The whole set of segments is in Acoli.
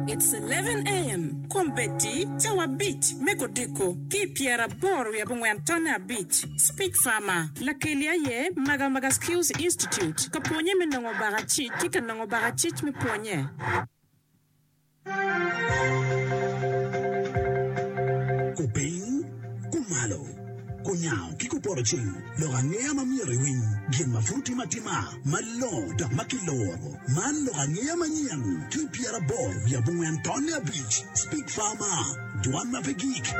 It's 11 AM, Kombeddi cawa abic me kodiko ki i pyeraboro wiye abongwen tonne abic. Speech Farmer, Lakeli aye Magamaga Skills Institute ka pwonye me nongo bakacic ki ka nongo bakacic me pwonye. Kupiny, kumalo, kunyango ki kupoto ceng, lok angeya ma myero iwiny, gin ma pud timo atima, malongo dok ma kiloro. Man lok angeya manyen ki pyeraboro wiye abongwen tonne abic, Speak Farmer, dwan ma pe gik.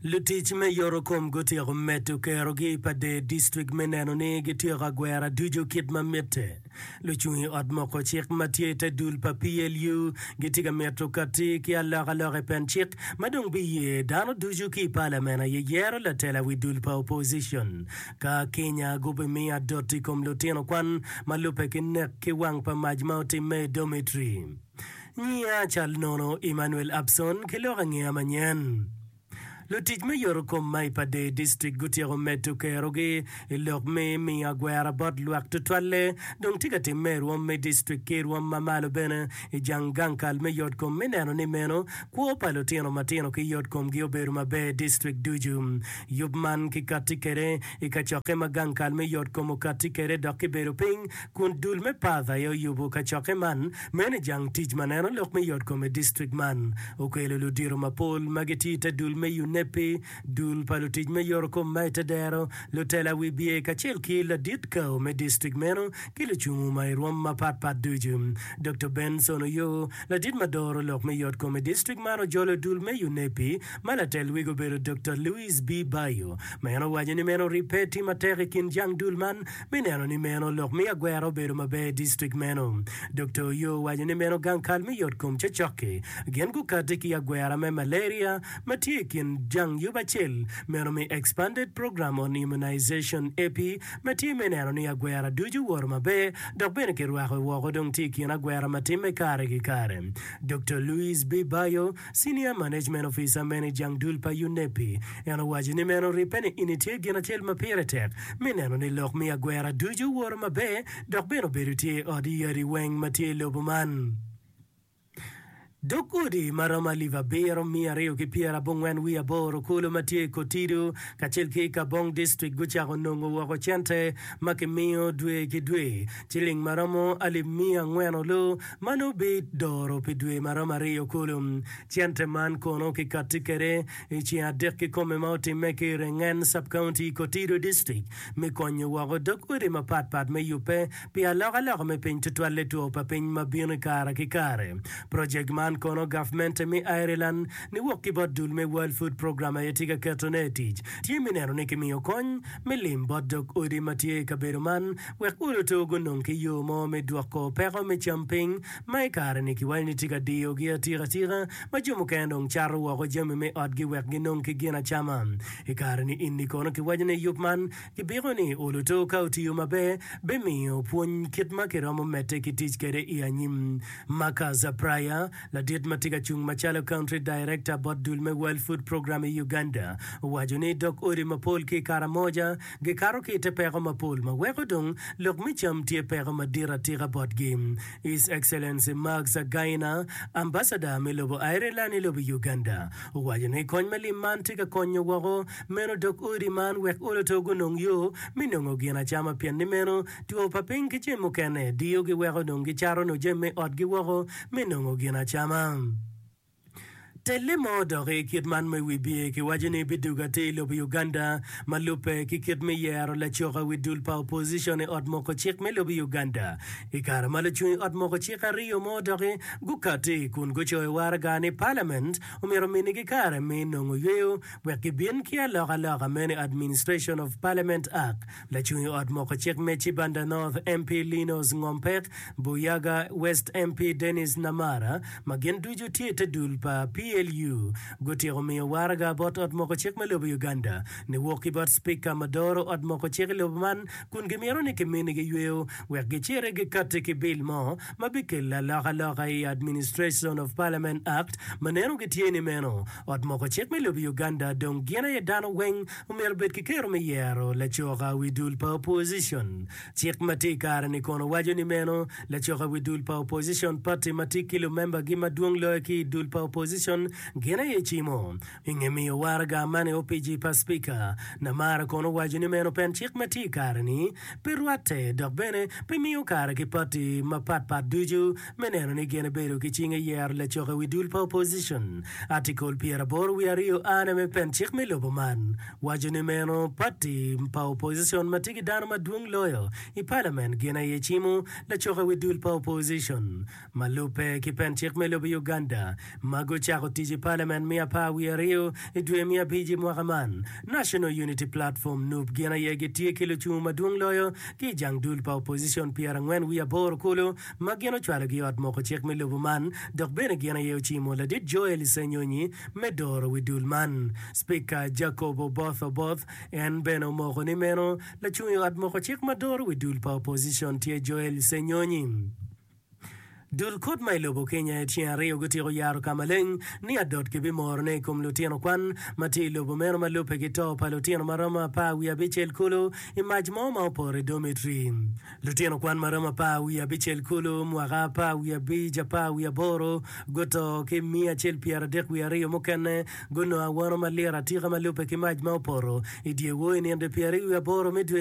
Lutic me yotokom gutyeko medo kerogi i Pader District me neno ni gityeko agwera ducu kit ma mitte. Lucung i ot moko cik ma tye i te dul pa PLU gitye ka mito kati ki alokaloka i pen cik ma dong biye dano ducu ki i palamen aye yero latela wi dul pa opposition. Ka Kenya gubimiyo adot i kom lutino kwan ma lubbe ki nek ki wang pa mac ma otimme i dormitory. Nyiya cal nono Emmanuel Abson ki lok angeya manyen. Lutic me yotokom ma i Pader District gutyeko medo kerogi i lok me miyo agwera bot lwak tutwalle dong tye ka timme i rwom me district ki i rwom ma malo bene i jang gang kal me yotkom me neno ni meno kwo pa lutino matino ki yotkomgi obedo maber i district ducu. Yub man kikatti kwede i kacokke ma gang kal me yotkom okatti kwede dok kibedo piny kun dul me Path aye oyubo kacokke man Meno i jang tic ma neno lok me yotkom i distrik man okelo ludito mapol ma gitye i te dul me UNEPI, dul pa lutic me yotokom ma i te dero, lutela wibye kacel ki ladit kao me distrik meno ki lucungu ma i rwom mapat pat ducu. Doktor Benson Oyoo, ladit ma doro lok me yotkom i distrik man ojolo dul me UNEPI ma latel wigi obedo Doktor Louis B. Bayo ma en owaco ni meno ribbe tye matek i kin jang dul man Me neno ni meno lok me agwera obedo maber i distrik meno, Doktor Oyoo owaco ni meno gang kal me yot kom cocok-ki gin gukati ki agwera me malaria ma tye i kin jang yub acel meno me Expanded Program on Immunization, EPI, ma tye me neno ni agwera ducu owoto maber dok bene kirwako woko dong tye i kin agwera ma timme kare ki kare. Doktor Louise B. Bayo, Senior Management Officer meno i jang dul pa UNEPI, en owaco ni meno ribbe ni ini tye gin acel ma pire tek me neno ni lok me agwera ducu owoto maber dok bene obedo tye i ot yadi weng ma tye i lobo man. Dog odi ma romo alip 7298 kulu ma tye i Kotido kacel ki i Kabong District gucako nongo woko cente ma kimiyo dwe ki dwe ciling ma romo alip miya angwen olu ma nongo bidoro pi dwe ma romo aryo kulu. Cente man kono kikatti kwede i ceng adek kikome ma otimme ki i Rengen Sub-County i Kotido District me konyo woko dog odi mapat pat me yubbe pi alokaloka me piny tutwalle two pa piny ma bino i kare ki kare. Projek man kono gavmente me Ireland niwok ki bot dul me World Food Programme aye tye ka ketone i tic. Tye me neno ni kimiyo kony me lim bot dog odi ma tye i kabedo man wek oloto gunong ki yo mo me dwoko peko me cam piny ma i kare-ni kiwaco ni tye ka diyogi atika atika ma jo mukene dong cato woko jami me otgi wek ginong ki gin acama. I kare-ni eni kono kiwaco ni yub man kibiko ni oloto ka otiyo maber bimiyo pwony kit ma kiromo medde ki tic kwede i anyim. Marcus Pryor, ladit ma tye ka cung macalo Country Director bot dul me World Food Programme i Uganda owaco ni dog odi mapol ki i Karamoja Gikato ki i te peko mapol ma weko dong lok me cam tye peko madit atika botgi. His Excellency Mark Zagaina, Ambassador me lobo Ireland i lobo Uganda, owaco ni kony me lim man tye ka konyo woko meno dog odi man wek oloto gunong yo me nongo gin acama pien ni meno two pa piny ki jami mukene diyogi weko dong gicato nyo jami me otgi woko me nongo gin acama. Telle mo dok i kit man me wibye kiwaco ni bidwogo atir i lobo Uganda ma lubbe ki kit me yero lacoka wi dul pa opposition i ot moko cik me lobo Uganda. I kare ma lucung i ot moko cik ariyo mo doki gukati kun gucoyo waraga ni Parliament omyero ominigi kare me nongo yweyo wek gibin ki alokaloka meno i Administration of Parliament Act Lacung i ot moko cik me Cibanda North MP Linos Ngompek, Buyaga West MP Denis Namara ma gin ducu tye i te dul pa PLU. PLU gutyeko miyo waraga bot ot moko cik me lobo Uganda niwok ki bot Spika ma doro ot moko cik i lobo man kun gimito ni kiminigi yweyo wek giciti gikatti ki bil mo ma bikelo alokaloka i Administration of Parliament Act ma neno gitye ni meno ot moko cik me lobo Uganda dong gin aye dano weng omyero obed ki kero me yero lacoka wi dul pa opposition. Cik ma tye i kare-ni kono waco ni meno lacoka wi dul pa opposition party ma tye ki lumembagi madwong loyo ki i dul pa opposition gin aye cimo. I nge miyo waraga man i opici pa Spika, Namara kono owaco ni meno pen cik ma tye i kare-ni pe rwatte dok bene pe miyo kare ki pati mapat pat ducu me neno ni gin ebedo ki cing i yero lacoka wi dul pa opposition. Article 82 A me pen cik me lobo man waco ni meno pati pa opposition ma tye ki dano madwong loyo i palament gin aye cimo lacoka wi dul pa opposition. Ma lubbe ki pen cik me lobo Uganda ma gucako tic i palament me 12 i dwe me abic i mwaka man, National Unity Platform, nup, gin aye gitye ki lucungu madwong loyo ki i jang dul pa opposition 48 kulu ma gin ocwalogi i ot moko cik me lobo man dok bene gin aye ocimo ladit Joel Ssenyonyi me doro wi dul man. Spika Jacob Oboth Oboth en bene omoko ni meno lacung i ot moko cik ma doro wi dul pa opposition tye Joel Ssenyonyi. Dul kot ma i lobo Kenya i ceng aryo gutyeko yaro ka maleng ni adot kibimorone i kom lutino kwan ma tye i lobo meno ma lubbe ki to pa lutino ma romo apar wiye abicel kulu i mac mo ma opoto i domitri. Lutino kwan ma romo apar wiye abicel kulu, mwaka apar wiye abic, apar wiye aboro guto ki miya acel pyeradek wiye aryo mukene gunongo awano malit atika ma lubbe ki mac ma opoto i dyewor i nino pyeraryo wiye aboro me dwe.